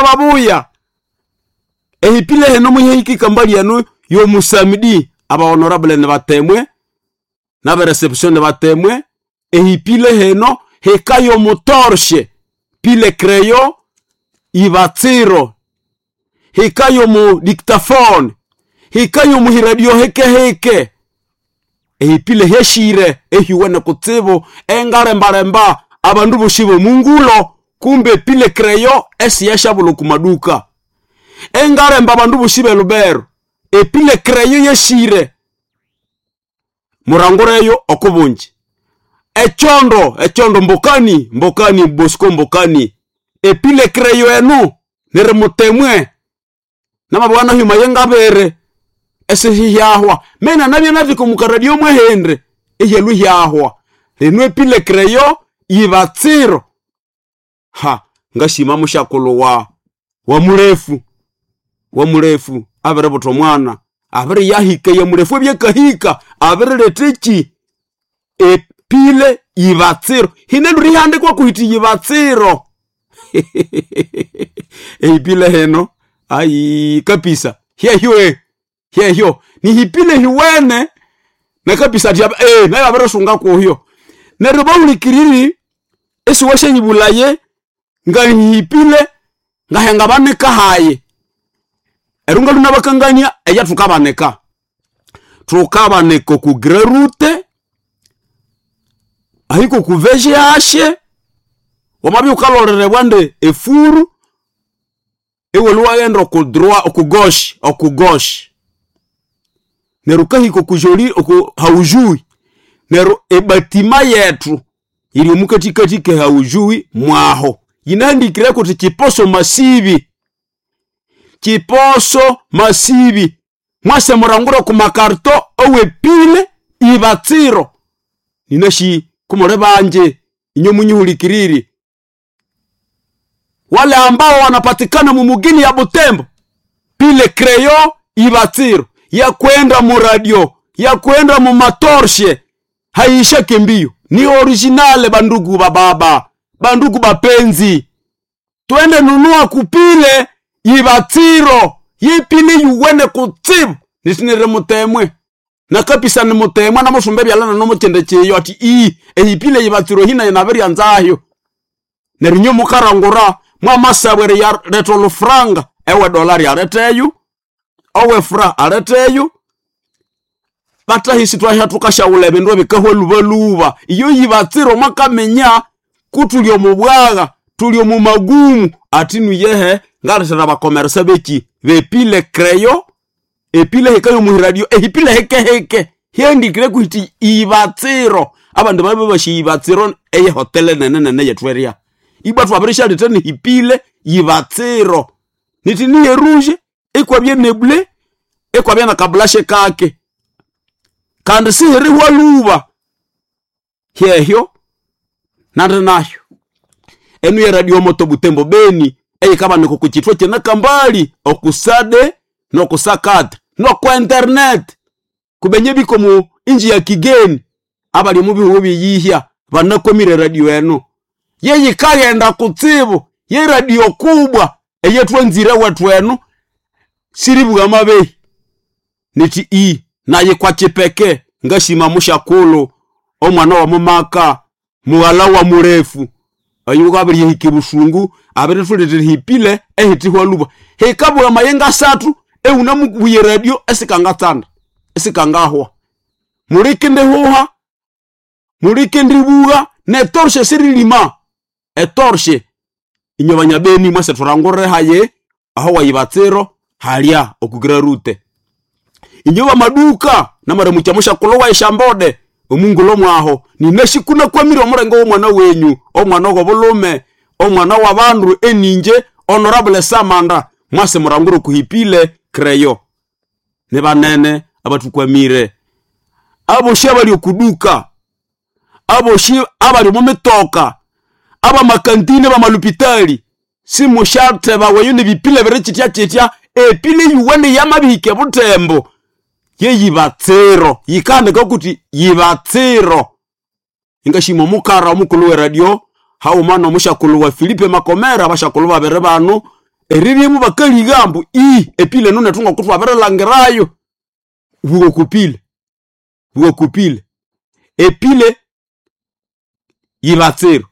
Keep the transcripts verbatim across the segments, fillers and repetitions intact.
babuya ehipile heno muhihikika mbali yenu yomusamidi aba honorable ne batemwe n'aba reception ne batemwe ehipile heno hekayo mutorshe pile creyo ibatsiro hekayo mu dictaphone hekayo muhiradio heke heke ehipile heshire ehiwene kutsibu engalembalemba abandu boshibo mungulo kumbe pile creyo esiyashabulo kumaduka engalemba abandu boshibe lubero epile creyo yeshire murangureyo okubunji echondo echondo mbokani mbokani bosco mbokani epile creyo enu nere mutemwe namabwana huma yengabere esihiyahwa mena nabye nabiko mukaradio mwehendre ehelu hyahwa lino epile creyo ibatsiro ha ngashima mushakulu wa wa murefu wa murefu abere buto mwana abere yahika ya murefu ebyekahika abere leteki epile ibatsiro hine lurihandikwa kuhiti ibatsiro ehipile heno ai kapisa hyehyo hyehyo nihipile hiwene na kapisa ati eh nayo abere sunga kuhyo neryo bahulikiriri esiwashenyibulaye ngahipile ngahenga banika haye erunga luna bakangania eya tukabaneka tukabaneka ku grerute ahiko kuveje ashe wamabi ukalorere bwande efuru iwe luwaghenda oku droit oku gauche oku gauche neryo ukahika okujoli oku haujui neryo ebatima yetu yiri omukatikati ke haujui mwaho yinahandikire kuti chiposo masibi chiposo masibi mwase murangura ku makarto owepile ibatsiro ninashi kumule banje inyo munyihulikiriri wale ambao wanapatikana mumugini ya Butembo pile creyo ibatsiro ya kwenda mu radio ya kwenda mu matorshe haishake mbio ni originale bandugu bababa bandugu bapenzi twende nunua kupile ibatsiro yipile yuwene kutsibu nisinire mutemwe nakapisa ni mutemwe namusumba ebyalana nomukyende kyeyo ati ii ehipile ibatsiro hina yinaberya nzayo neryo inyo mukarangura mwamasabwere yareta olufuranga ewe dolari areteyu owe fra areteyu batahisi twahya tukashaghula ebindu ebikahwa lubaluba iyo yibatsiro mwakaminya kutuli omu bwagha tuli omu magumu ati nuyehe ngalethera bakomeresa beki bepile creyo epile hekayo muhiradio ehipile hekeheke hyendikire kuhiti ibatsiro abandu babe bashi ibatsiro eye hotele nene nene yetweria ibwa twabirishaleta nihipile ibatsiro niti niye rouge ikwabye neble ikwabye na kabulashe kake kandi sihirihwa luba hyehyo nandi nayo enu ye radio moto Butembo Beni eyikabanika kuchitwa kyenakambali okusade nokusakata nokwa internet kubenye biko mu inji ya kigeni abali mu bihugu byeyihya banakomire radio eno yeyikaghenda kutsibu ye radio kubwa eyetwanzire wethu eno siribugha mabehi niti i naye kwa chipeke ngashima mushakulu omwana wa mumaka mughala wa murefu oyu abirihika busungu abirithuletera hipile ehitihwa luba hikabugha mayenga asathu ehunamubuye radio esikangatsanda esikangahwa mulikindihuha mulikindibugha netorshe sirilima etorshe inyo banyabeni mwese thurangurire haye aho wayibatsiro halya okukira rute inyo bamaduka namaramucha mushakulo wa eshambode omungulo mwaho ninashikuna kwamire omurengo w'omwana wenyu omwana w'obulume omwana w'abandu eninje honorable samanda mwase murangure kuhipile creyo ne banene abatukwamire aboshi abali okuduka aboshi abali mumitoka abamakantine bamalupitali simushathe baweyo nebipile biri chitya chitya epile yuwene yamabihike Butembo yeyibatsiro yikahandika kuti yibatsiro ingashima omukara omukulu we radio hauma nomushakulu wa Filipe Makomera abashakulu babiri bano Eriryemu bakaliga mbu ii epile eno nethu ngoko thwabirilangirayo. Buwa okupile, buwa okupile. Epile yibatsira.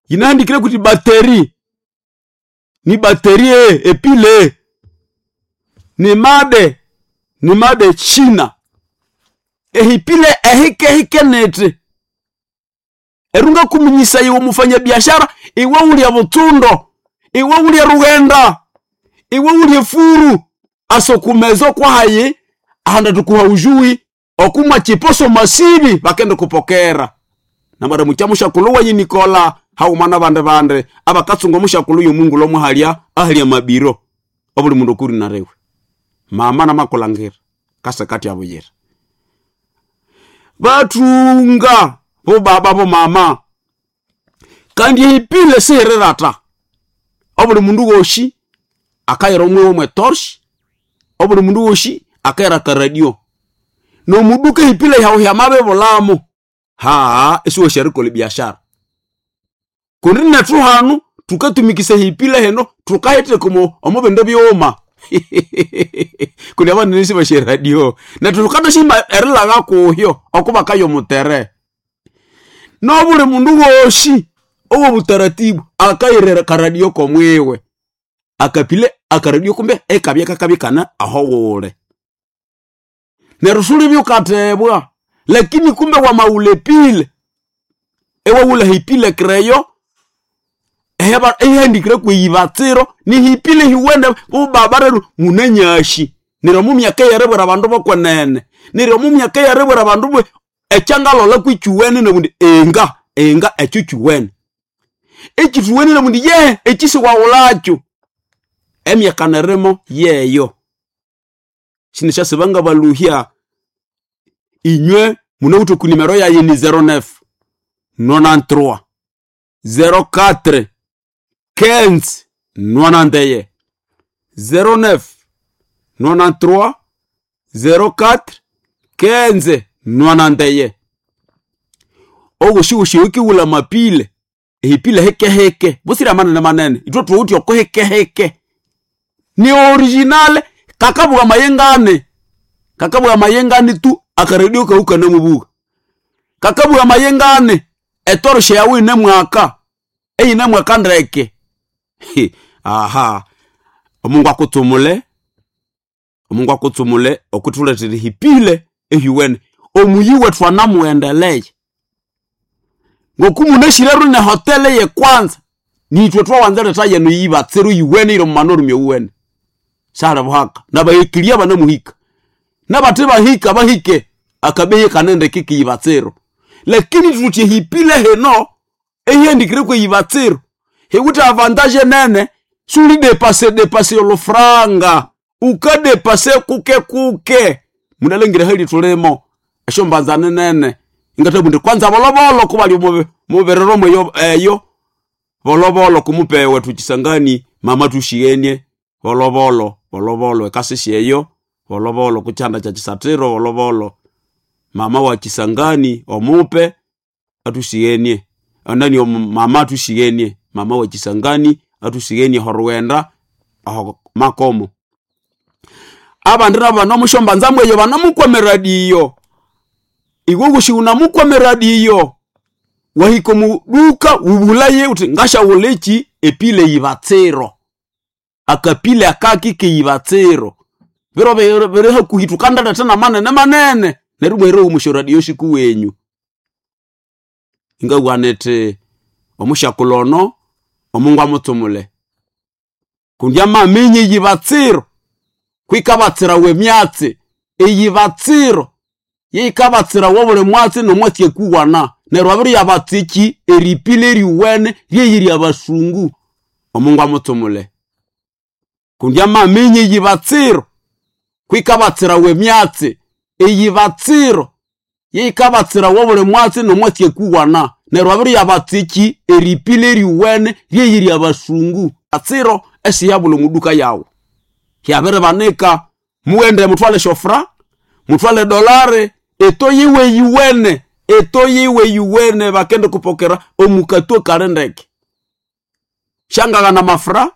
Yinahandikire kuti battery, ni battery epile ni made, ni made China. Ehipile ehikehike niti erunga kuminyisa iwe mufanyabiashara, iwe ulya butsundo, iwe ulya rughenda, iwe ulya furu asokumezo kwahayi ahanda tukuha ujui okumwa chiposo masibi bakende kupokera. Namara mucha mushakulu wanyi Nikola hauma nabande bande abakatsunga mushakulu yomungu lomuhalya ahalya mabiro obuli mundu kuri narewe. Mama namakulangira kase kati abuyira. Batunga bo baba bo mama kandi ipile sihirata obuli mundu woshi akayira omwe omwe torch, obuli mundu woshi akayira ka radio nomuduka ipile yaho yamabe bulamo ha esiwo sharikole biashara kundi nethu hanu tukatumikisa hipile heno tukahete kumo omubindu byuma kundi abandu nisi bashe radio nethu tukatashima erilaga kuhyo okubakayo mutere nobuli mundu woshi owo butaratibu akayirera karadio komwiwe akapile akaradio kumbe ekabya kakabikana aho wule neryo suli byukatebwa lakini kumbe wamaulepile ewawula hipile kreyo eheba ehandikire kweyibatsiro nihipile hiwende bubabareru munanyashi neryo mumyaka yerebwera abandu bokwenene neryo mumyaka yerebwera abandu bwe ekyangalola kwikyuwene nabundi enga enga ekyo kyuwene ekithuwene nabundi ye ekisiwawulakyo emyaka nerimo yeyo sinisyasibanga baluhya inywe munawithe ku nimero yaye ni zero neuf nonante-trois zero quatre quinze nonante-un zero neuf nonante-trois zero quatre quinze nonante-un oghoshi okiwula mapile ehipile hekeheke busira manene manene ithwe thuwithe oko hekeheke ni original kakabugha mayengane kakabugha mayengane tu akaredio kaukana mubuga kakabugha mayengane etoroshe yawe ine mwaka eyine mwaka ndeke. Aha omungu akutsumule omungu akutsumule okuthuletera hipile ehyuwene omuyi wethu anamuendeleye ngoku munashire ne hotele ye kwanza nithwe twawanza yenu yibatsiru yiwene iro mumano rumye sara buhaka nabahikiria banamuhika nabate bahika bahike akabeye kanende kiki yibatsiro lakini tutie hipile heno ehendikire kwe yibatsiro hewuta avantage nene suli depase depase olufranga ukadepase kuke kuke munalengire hali tulimo eshombanzane nene ingatabunde kwanza bolobolo kubali muberero mweyo eyo bolobolo kumupewe tuchisangani mama tushienie bolobolo bolobolo ekasisi eyo bolobolo kuchanda cha chisatiro bolobolo mama wa Chisangani omupe atusienie anani mama atusienie mama wa Chisangani atusienie horuwenda aho makomo abandi nabo banamushombanza mweyo banamukwameradio iwe gushi unamukwameradio wahiko muduka ubulaye uti ngashawulechi epile yibatsiro akapile akaki keyibatsiro biro biri hakuhi tukandala tena manene manene neryo bwere omushoradio shiku wenyu ingabwanete omushakulono omungu amutsumule kundi amamenye yibatsiro kwikabatsira wemyatsi eyibatsiro yeikabatsira wobuli mwatsi nomwatsi ekuwana neryo abiri yabatsiki eripile eriwene ryeyiri abasungu omungu amutsumule kundi amamenye yibatsiro kwikabatsira wemyatsi eyibatsiro yeikabatsira wobuli mwatsi nomwatsi ekuwana neryo abiri yabatsiki eripile eriwene ryeyiri abasungu atsiro esiyabula omuduka yawu hyabiribanika mughende muthwale shofra muthwale dolare eto yiwe yiwene eto yiwe yiwene bakende kupokera omukatwe kali ndeke shangaghana mafra.